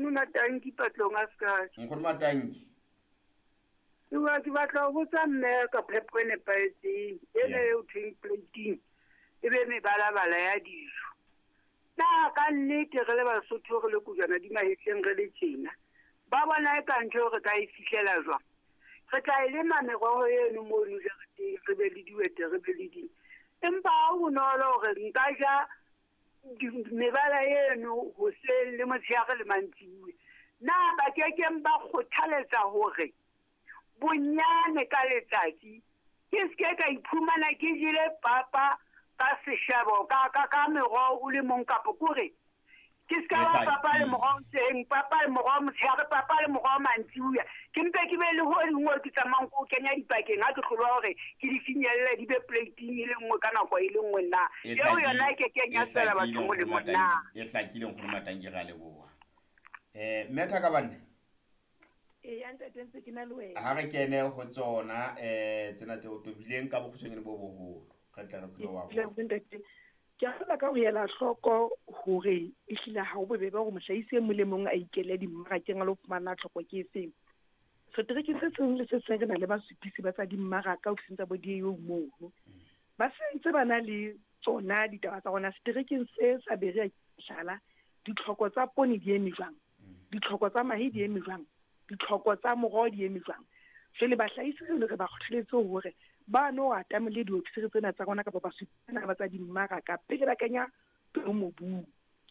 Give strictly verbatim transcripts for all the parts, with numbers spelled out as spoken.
Nkgono Matanki patlong a ska. Nkgono Matanki. Ke ke batla ho botsa mme ka phepo e nepahetseng ena eo thweng plating e be mebalabala ya dijo. Na ka nnete re le Basotho re le kojwana di mahetleng re le tjena, ba bona e ka ntho re ka e fihlela jwang? Re tla e lema meroho eno mono jareteng, re be le dihwete, re be le ding. Empa ha ho bonolo hore nka ja mebala eno hoseng le motshehare le mantsibuya. Na ba kekeng ba kgothaletsa hore bonyane ka letsatsi ke ske ka iphumana ke jele papa ka seshabo ka ka ka meroho o le mong, kapa kore ke ska ba papa le moroho hoseng, papa le moroho motshehare, papa le moroho mantsibuya. Ke mpe ke be le ho dingwe ke tsamayang ko kenya dipakeng ha ke hlolwa hore ke di finyelle di be plating e le nngwe ka nako e le nngwe na. Eo yona e kekeng ya tswela batho molemo na. E hlakile Nkgono Matanki, re a leboha. Eh mme Thakabanne. E ya ntate ntse ke na le wena. Ha re kene ho tsona eh tsena tse o tobileng ka bokgutshwanyane bo boholo. Re tla re tsebe wa bona. Ke a ka ho ela hloko hore ehlile ha ho bobebe hore mohlahisi e mong le mong a ikele dimmarakeng a lo fumana tlhoko ke efeng. Setereke se seng le se seng re na le basupisi ba tsa dimmaraka ofising tsa bo D A O mono. Ba sentse ba na le tsona ditaba tsa rona seterekeng se sa Berea hlala, ditlhoko tsa poone di eme jwang, ditlhoko tsa mahe di eme jwang, ditlhoko tsa moroho di eme jwang. Jwale bahlahisi re re ba kgothaletse hore ba no atamele diofisiri tsena tsa rona kapa basupisi ba tsa dimmaraka pele ba kenya peo mobung.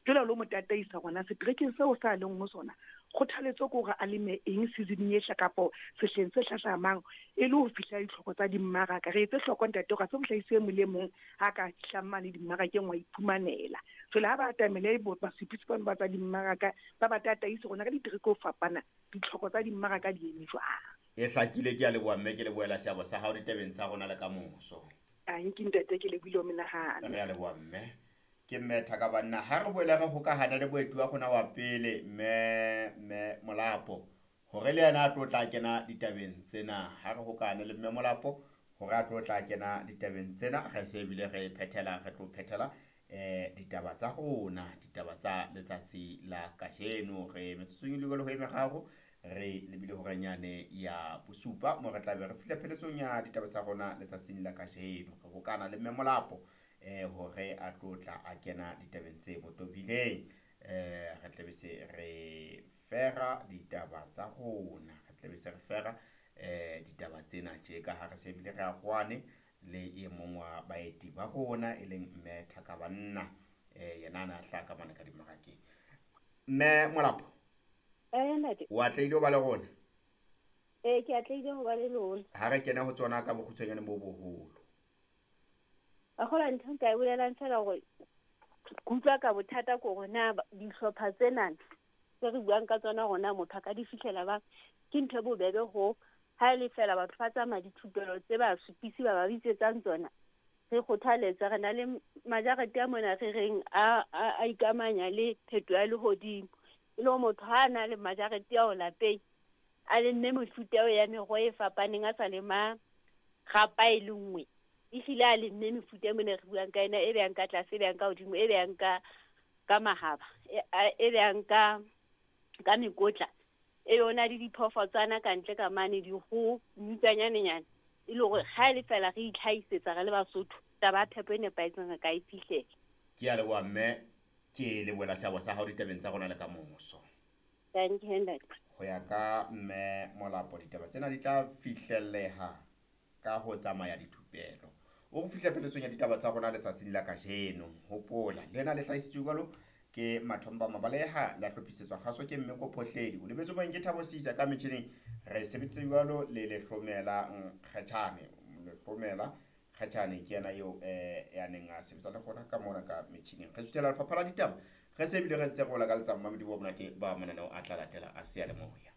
Jwale lo mo tataisa rona seterekeng seo sa leng ho sona, kgothaletso ke hore a leme eng seasoning e hla kapo sehleng se hlahlamang e le ho fihla ditlhoko tsa dimmaraka. Re etse hloko ntate hore ha se mohlahisi e mong le mong ha ka fihlang mane dimmarakeng wa iphumanela. Jwale ha ba atamele basupisi bano ba tsa dimmaraka ba ba tataise rona ka ditereke ho fapana ditlhoko tsa dimmaraka di eme jwang. E hlakile, ke a leboha mme, ke lebohela seabo sa hao ditabeng tsa rona le ka moso. Tanki ntate, ke lebohile ho menahano. Re a leboha mme. Ke mme Thakabanna. Ha re boele re hokahana le boeti wa rona wa pele mme mme Molapo hore le yena a tlo tla kena ditabeng tsena. Ha re hokahane le mme Molapo hore a tlo tla kena ditabeng tsena, re se ebile re phethela, re tlo phethela eh ditaba tsa rona, ditaba tsa letsatsi la kajeno. Re metsotsong e le ho e meraro re lebile horanyane ya bosupa mo re tla be re fihla pheletsong ya ditaba tsa rona letsatsing la kajeno. Re hokana le mme Molapo eh hore a tlo tla a kena ditabeng tse motobileng. Eh re tla be se re fera ditaba tsa rona, re tla be se re fera eh ditaba tsena tje ka ha re se bile re a kgwane le e mong wa baeti ba rona e leng mme Thakabanna. Eh yena ana hlaka ka mane ka dimmarakeng. Mme Molapo, eh ntate, o atlehile ho ba le rona? Eh ke atlehile ho ba le lona. Ha re kene ho tsona ka bokgutshwanyane bo boholo. A khola ntho nka e bolelang fela hore ke utlwa ka bothata ko hore na dihlopha tsena tse re buang ka tsona rona motho a ka di fihlela ba ke ntho e bobebe ho ha e le fela batho ba tsamaya dithupelo tse ba supisi ba ba bitsetsang tsona. Re kgothaletsa re na le majarete a mona re reng a a ikamanya le pheto ya lehodimo. E le motho ha na le majarete ao lapeng a lemme mefuta eo ya meroho e fapaneng a sa lema rapa e le nngwe. Ehlile a lemme mefuta e mona re buang ka ena e beyang ka tlase, e beyang ka hodimo, e beyang ka ka mahaba, e beyang ka ka mekotla, e yona le diphoofotswana ka ntle ka mane dikgoho mmutlwanyanenyane. E le hore ha e le fela re itlhahisetsa re le Basotho taba ya phepo e nepahetseng re ka e fihlela. Ke a leboha mme, ke lebohela seabo sa hao ditabeng tsa rona le ka moso. Thank you ntate. Ho ya ka mme Molapo ditaba tsena di tla fihlelleha ka ho tsamaya dithupelo. O fihla pheletsong ya ditaba tsa rona letsatsing la kajeno. Hopola lena le hlahisitswe jwalo ke Mathomba Mabaleha, la hlophisetswa kgaso ke Mme Kophohledi. O lebetse moeng ke Thabo Sisa ka metjhining. Re sebeditse jwalo le Lehlomela Kgatjhane. Lehlomela Kgatjhane ke yena eo eh ya neng a sebetsa le rona ka mona ka metjhining. Re suthela lefapha la ditaba, re se ebile re ntse re bola ka letsa mmamedi bo monate ba mananeo a tla latela a seyalemoya.